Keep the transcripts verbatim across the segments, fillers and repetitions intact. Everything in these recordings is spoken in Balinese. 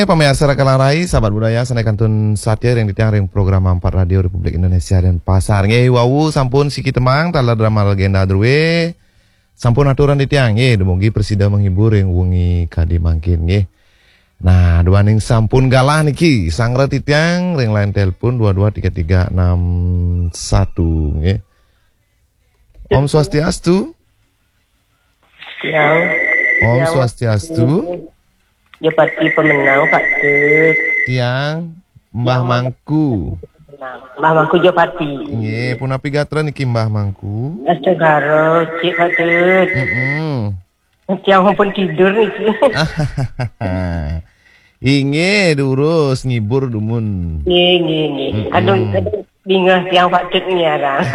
Pamiarsa Raka Larai, sahabat budaya, sané kantun satia ring titiang ring program Ampat Radio Republik Indonesia Denpasar. Nggih, wau sampun siki tembang taler drama legenda drué. Sampun aturan titiang nggih, dumugi prasida menghibur ring wengi kadi mangkin nggih. Nah, duaning sampun galah niki, sanggra titiang ring line telepon dua dua tiga tiga enam satu nggih. Om Swastiastu. Siang. Om Swastiastu. Jopati pemenang, Pak Tut. Tiang Mbah Mangku. Mbah Mangku Jopati. Nggih, punapi gatra niki Mbah Mangku? Astungkara, Cik Pak Tut. Mm-mm. Tiang pun tidur niki. Inggih, durus ngibur dumun. Nggih, nggih, nggih. Mm-mm. Aduh, aduh, bingah tiang Pak Tut ngiarang.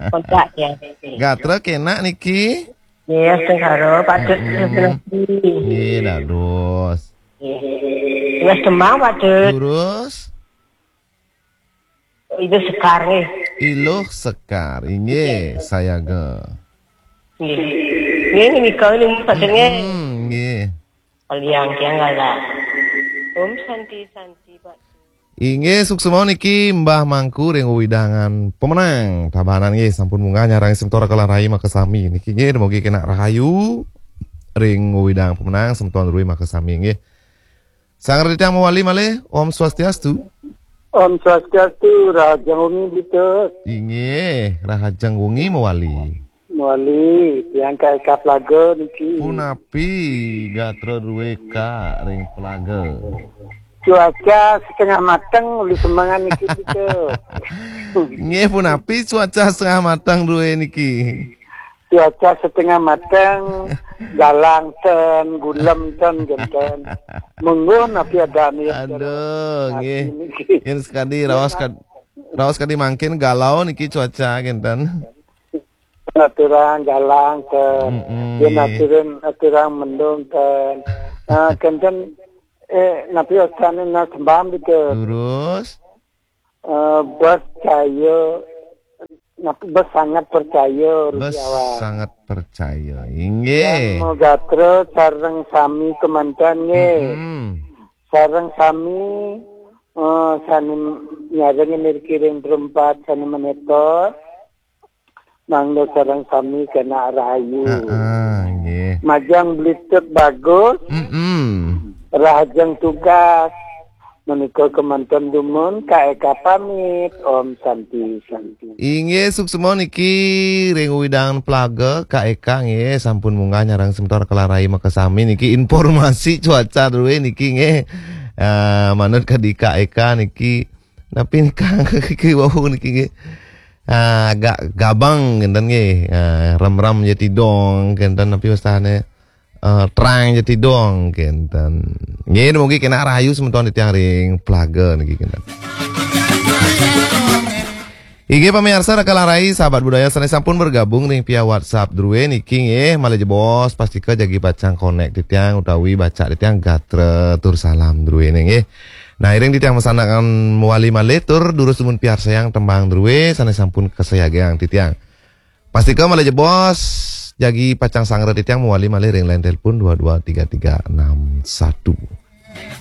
Kontak tiang. Gatra kenak niki? Nggih, astungkara, Pak Tut. Mm-mm. Nggih, dados. Nggih. Wes tembang, Pak Tut. Durus. Itu Sekar nggih. Iluh Sekar, inggih, sayaga. Nggih. Nggih, nggih, nika ini Pak Tut nggih. Hmm, nggih. Paliang tiang galah. Om Santi Santi, Pak. Inggih, suksma niki Mbah Mangku ring wewidangan pemenang. Tabanan nggih, sampun munggah nyarengin semeton Raka Larai makasami. Niki nggih, dumugi kenak rahayu ring wewidangan pemenang semeton drué makasami nggih. Sanggra titiang mawali malih, Om Swastiastu. Om Swastiastu, rahajeng wengi, Pak Tut. Inggih, rahajeng wengi mawali. Mawali, tiang K K Plaga niki. Punapi gatra drué Kak ring Plaga? Cuaca setengah mateng, uli semengan niki, Pak Tut. Nggih, punapi cuaca setengah mateng drué niki? Cuaca setengah mateng, galang ten, gulem ten, genten. Mungguh napi ada nih. Aduh, nggih. Yén sekadi raos kad-, raos kadi mangkin galau niki cuaca genten. Aturang galang ten. Mm-mm, Yén nggih. aturang, aturang mendung ten. Nah, genten, eh, napi wastane nah sembam gitu. Durus. Eh, percaya, napi, bersangat percaya, Bes Rupiawan. Sangat percaya. Inggih. Gatra sareng sami kemanten nggih. Mm-mm. Sareng sami, eh, sane nyarengin iriki ring perempat sane menetor. Mangda sareng sami kenak rahayu. Heeh, nggih. Majeng blitut bagus, Mm-mm. rahajeng tugas. Menika kemanten dumun, Kak Eka pamit. Om Santi, Santi. Inggih, suksma niki ring wewidangan Plaga, Kak Eka nggih sampun munggah nyarengin semeton Raka Larai makasami niki informasi cuaca drué niki nggih. Eh, manut kadi Kak Eka niki napi nika niki wau niki nggih. Ah, agak gabang genten nggih. Ah, remram ja tidong genten napi wastane. Eh, terang ja tidong genten. Nggih, dumugi kenak rahayu semeton titiang ring Plaga niki genten. Inggih pamiarsa Raka Larai, sahabat budaya sane sampun bergabung ring via WhatsApp drué niki nggih, malih jebos pastika jagi pacang konek titiang utawi baca titiang gatra tur salam druéné nggih. Nah, iring titiang masandekan mawali malih tur durus dumun piarsayang tembang drué sane sampun kasayagiang titiang. Pastika malih jebos jagi pacang sanggra titiang mawali malih ring line telepon dua dua tiga tiga enam satu.